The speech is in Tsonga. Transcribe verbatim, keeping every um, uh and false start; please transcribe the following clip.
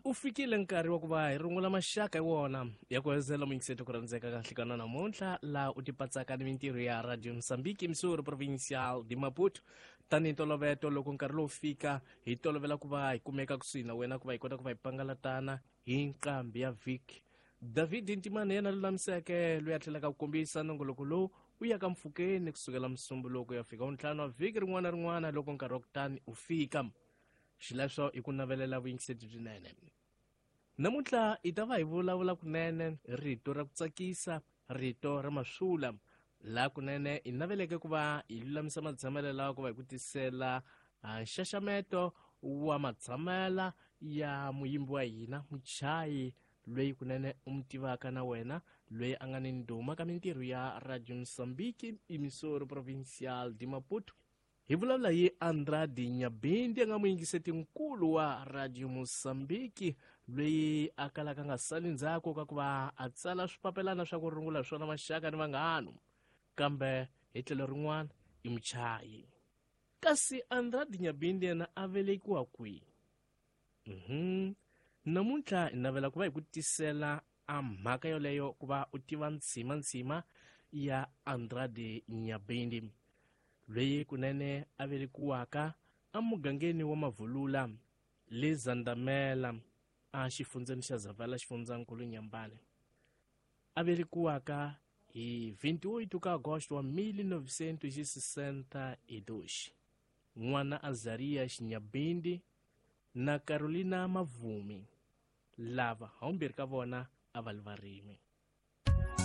U fikile nkarhi wa ku va hi rungula maxaka hi wona ya ku hezela muyingiseti ku rhandzeka ka nhlikana namuntlha laha u tipatsaka ni mintirho ya Radio Mozambique, emissora provincial de Maputo. Tanihi ntoloveto, loko nkarhi lowu fika hi tolovela ku va hi kumeka kusuhi na wena ku va hi kota ku va hi pangalatana hi nqambi ya vhiki. David Ntimane yena lulamiseke loyi a tlhelaka ku kombisa nongoloko lowu u ya ka mpfhukeni kusukela musumbuluko ya fika ntlhanu wa vhiki rin'wana na rin'wana loko nkarhi wa kutani u fika. Xileswo i ku navelela vuyingiseti byinene. Namuntlha hi ta va hi vulavula kunene rito ra ku tsakisa, rito ra maswula, laha kunene hi naveleke ku va hi lulamisa matshamelo lawa ku va hi ku tisela nxaxameto wa matshamela ya muyimbi wa hina muchayi loyi kunene u mu tivaka na wena, loyi a nga ni ndhuma ka mintirho ya Radio Mozambique, emissora provincial de Maputo. Hi vulavula hi Andrade Nyabindi, a nga muyingiseti nkulu wa Radio Mozambique, loyi a kalaka nga sali ndzhaku ka ku va a tsala swipapelana swa ku rungula swona maxaka ni vanghano, kambe hi tlhelo rin'wana i muchayi. Kasi Andrade Nyabindi yena a velekiwa kwihi? Mhm. Namuntlha hi navela ku va hi ku tisela a mhaka yoleyo ku va u tiva ntshima-ntshima ya Andrade Nyabindi, loyi kunene a velekiwaka emugangeni wa Mavulula le Zandamela a xifundzeni xa Zavala, xifundzankulu Nyambane. A velekiwaka hi vinte e oito ka agosto wa mil novecentos e sessenta e dois, n'wana Azaria Xinyabindi na Carolina Mavumi, lava haumbirhi ka vona a va li varimi.